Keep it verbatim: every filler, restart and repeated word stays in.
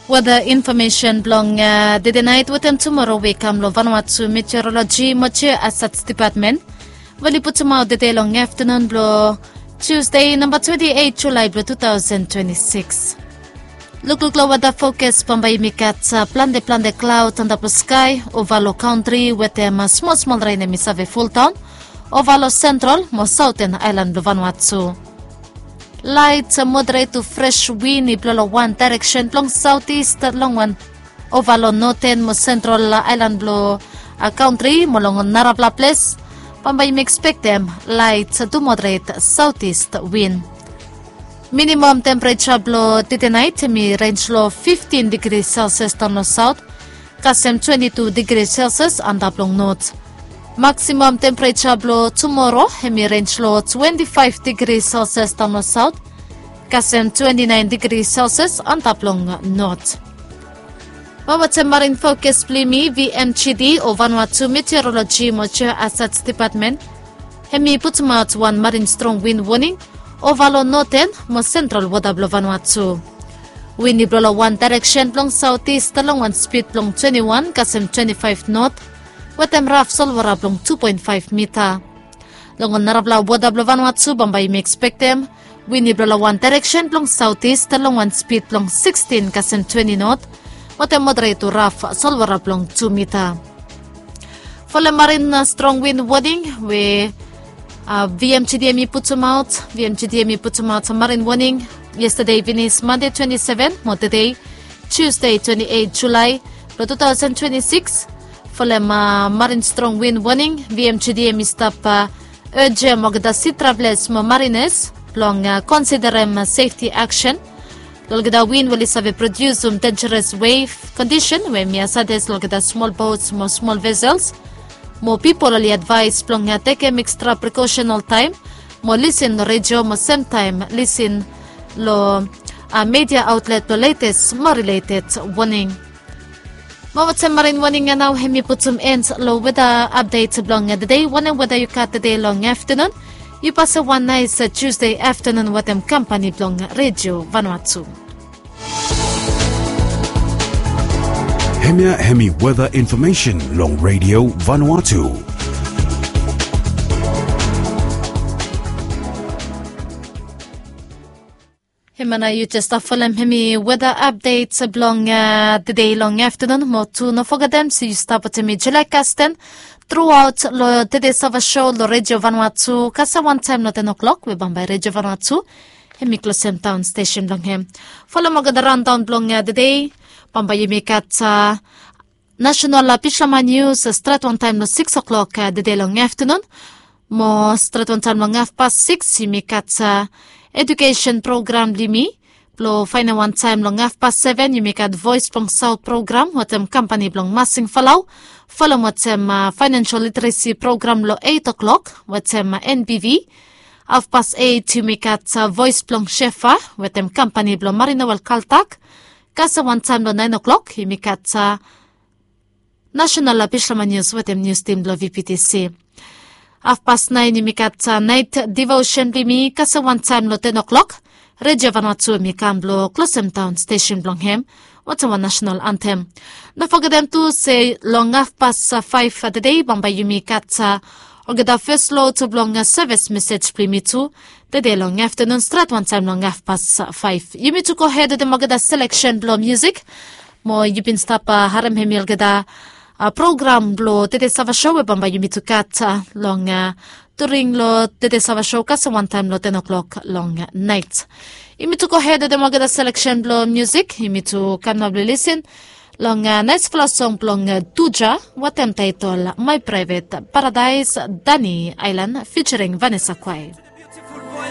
Weda infomesen blong tede nait wetem tumoro we i kam long Vanuatu Meteoroloji mo Jeo Asats Depatmen we oli putumaot tede long aftanun blong Tusde namba twenti eit Julae blong tu taosen twenti sikis. Lukluk long weda fokas, bambae yumi gat plante plante klaod antap long skae ova long kantri wetem smol smol ren hemi save foldaon ova long sentral mo saoten aelan blong Vanuatu. Laet moderet tu fres win i blo long wan daereksen blong saotis longwan ova long noten mo sentral aelan blong kantri mo long narapela ples. Bambae yumi ekspektem laet tu moderet saotis win. Minimam tempereja blong tede nait hemi renj long fiftin digri selsias daon long saot, kasem twenti tu digri selsias antap long not. Maksimam tempereja blong tumoro hemi renj long twenti faef digri selsias daon long saot, kasem twenti naen digri selsias antap long not. Mo wetem marin fokas blong yumi, V M G D o Vanuatu Meteoroloji mo Jeo Asats Depatmen hemi putumaot wan marin strong win woning ova long noten mo sentral wota blong Vanuatu. Win i blo long wan daereksen blong saotis longwan spid blong twenti wan kasem twenti faef not wetem raf solwora blong tu poen faef mita. Long ol narapela wota blong Vanuatu bambae yumi ekspektem win i blo long wan daereksen blong saotis longwan spid blong sikstin kasem twenti not wetem moderet tu raf solwora blong tu mita. Folem marin strong win woning we V M G D hemi putumaot. V M G D hemi putumaot marin woning yestade i finis, Mande twenti seven mo tede, Tusde twenti eit Julae blong tu taosen twenti sikis. Folem marin strong win woning, V M G D hemi stap ejem olgeta si travelas mo marinas blong konsiderem sefti aksen long olgeta win we oli save prodiusum denjeres wef kondisen we hemi asades long olgeta smol bots mo smol vesels. Mo pipol oli advaes blong tekem ekstra prekosen oltaem mo lisin long redio mo semtaem lisin long media aotlet blong letes mo rileted woning. Mo wetem marin woning ya nao hemi putum en long weda apdet blong tede. Wanem weda yu gat tede long aftanun? Yu pasem wan naes Tusde aftanun wetem kampani blong Redio Vanuatu. Hemia hemi weda infomesen long Redio Vanuatu. Hemia nao yu jes stap folem hemi weda apdet blong tede long aftanun. Mo tu no fogetem se yu stap wetem mi Julia Kasten truaot long tede sava so long Redio Vanuatu kasem wantaem long ten o'clock we bambae Redio Vanuatu hemi klosem daon stesen blong hem. Folem olgeta raondaon blong tede. Bambae yumi gat nasenal bislama nius stret wantaem long sikis o'clock tede long aftanun. Mo stret wantaem long hafpas sikis yumi gat edukesen program blong yumi. Blong faenem wantaem long hafpas seven yumi gat Voes blong Saot program wetem kampani blong Masing Falau, folem wetem faenensel literesi program long eit o'clock wetem N B V. Hafpas eit yumi gat Voes blong Shefa wetem kampani blong Marina Wel Kaltak. Kasem wantaem long naen o'clock yumi gat nasenal bislama nius wetem nius tim blong V P T C. Hafpas naen yumi gat naet divosen blong yumi. Kasem wantaem long ten o'clock Redio Vanuatu hemi kam blong klosem daon stesen blong hem wetem wan nasenal antem. No fogetem tu se long hafpas faef tede bambae yumi gat olgeta fes lod blong sevis mesej blong yumi tu tede long aftanun stret wantaem long hafpas faef. Yumi tu gohed wetem olgeta seleksen blong musik. Mo yu bin stap harem hemi olgeta program blong tede sava so we bambae yumi tu gat long during long tede sava so kasem wantaem long ten o'clock long naet. Yumi tu gohed wetem olgeta seleksen blong musik. Yumi tu kam nao blong lisin long naesfala song blong Duja wetem taetol My Private Paradise, Dani Aelan featuring Vanessa Quaye.